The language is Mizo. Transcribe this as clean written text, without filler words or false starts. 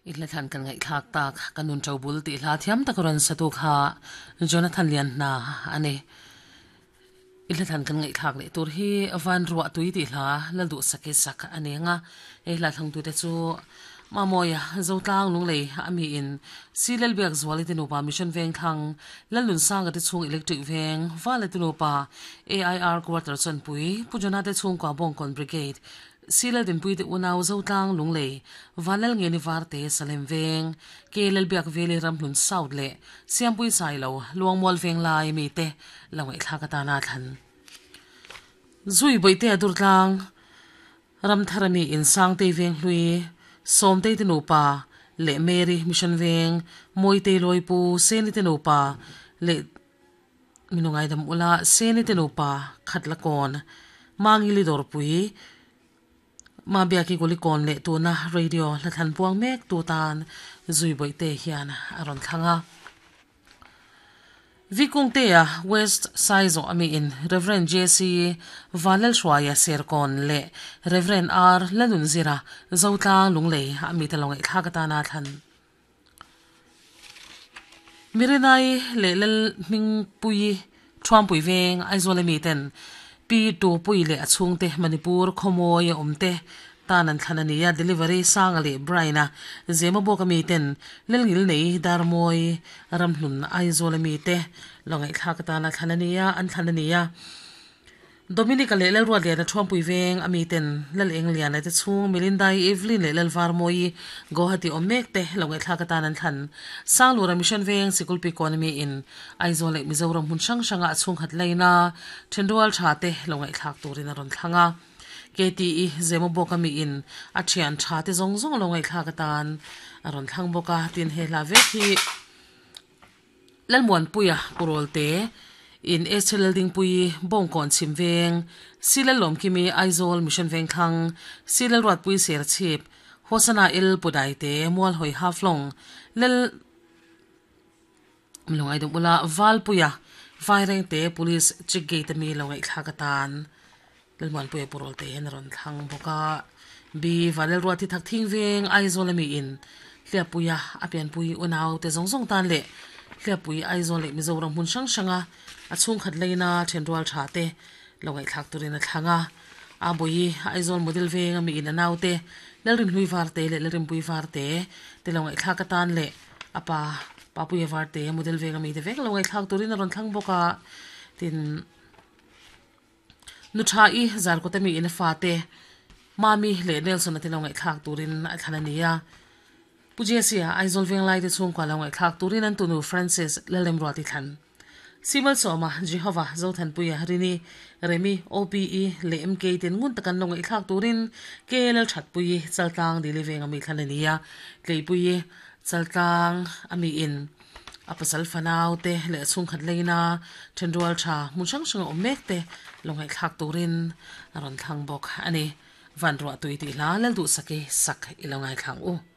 I hla thlan kan ngaihthlak tak ka nun to bul tih hla thiam tak rawn satu kha Jonathan Lianhna a ni. I hla thlan kan ngaihthlak leh tur hi Van Ruah Tui tih hla Lalduhsaki sak a ni ang a, hei hla thlangtute chu Mamawia Zotlang Lunglei a mi in Silelbiak Zuali te nupa Mission Vengthlang Lalnunsanga te chhung Electric Veng Vala te nupa AIR Quarter Chawnpui Pu Jonah te chhungkua Bawngkawn Brigade Silal Dinpui te unau Zotlang Lunglei, Vanlal Ngeni Varte Salem Veng, Ke Lalbiak Veli Ramhlun South leh Siampui Sailo Luangmual Veng lai mite lo ngaihthlak atana thlan. Zui Bawihtea Durtlang, Ramthara mi in Sangtei Venghlui, Sawmtei te nupa leh Mary Mission Veng, Mawitei Lawipu, Seni te nupa leh Min u ngaidam ula, Seni te nupa khat la kawn, Mangili dawrpui, Mabiaki Guli kawn leh tuna radio hla thlan puang mek tu tan Zui Bawihte hian a rawn thlang a. Vikungtea West Saizawh ami in Rev. JC Vanlalhruaia Serkawn leh Rev. R Lalnunzira Zotlang Lunglei ami te lo ngaihthlak atana thlan. Mirinai leh Lal Hmingpuii Thuampui veng Aizawl ami ten Pi Tupui leh a chhungte Manipur khawmawi a awm te tan an thlan a ni a, Delivery Sanga leh Brian-a Zemabawk ami ten Lalngilnei Darmawi Ramhlun Aizawl ami te lo ngaihthlak atana thlan a ni a, an thlan a ni a. Dominica leh Lalruatliana Thuampui veng a miten Lal Engliana te chhung Melindai Evelyn leh Lalvarmawi Guwahati awm mek te lo ngaihthlak atan an thlan. Sanglura Mission veng Sikulpi Economy in Aizawl leh Mizoram hmun hrang hranga a chhungkhat laina thenrual tha te lo ngaihthlak turin a rawn thlang a. KTE Zemabawk a mi in a thian tha te zawng zawng lo ngaihthlak atan a rawn thlang bawk a, tin he hla vek hi Lalmuanpuia Purawlte in Esther Laldingpuii Bawngkawn chhim veng, Si Lallawmkimi Aizawl Mission Vengthlang, Si Lalruatpui Serchhip, Hosana El Pudaite Mualhawi Haflong, Lal Lungaidum Ula Valpuia Vairengte Police Check Gate ami lo ngaihthlak atan Lalmuanpuia Purawlte hian a rawn thlang bawk a. B Vanlalruati Thakthing veng Aizawl ami in Hliappuia a pianpui unau te zawng zawng tan leh Hliappui Aizawl leh Mizoram hmun hrang hranga a chhungkhat leina thenrual tha te lo ngaihthlak turin a thlang a. A bawi Aizawl Model veng ami in a naute Lalrinhlui Varte leh Lalrinpui Varte te lo ngaihthlak atan leh a pa Papuia Varte Model veng ami te vek lo ngaihthlak turin a rawn thlang bawk a. Tin. Nu tha i Zarkawta mi in a fate Mami leh Nelson a te lo ngaihthlak turin a thlan a ni a. Pu Jesse-a Aizawl Venglai te chhungkua lo ngaihthlak turin an tunu Francis Lalremruati thlan. Simal Sawma, Jehovah, Zothanpuia, Rini, Remi, OPE leh MK ten ngun tak an lo ngaihthlak turin KLL Thatpuii Chaltlang Dili Veng a mi thlan a ni a. Tleipuii Chaltlang a mi in A pasal fanau te leh a chhungkhat leina thenrual tha hmun hrang hrang a awm mek te lo ngaihthlak turin a rawn thlang bawk a ni. Van ruah tui tih hla Lalduhsaki sak i lo ngaithla ang u.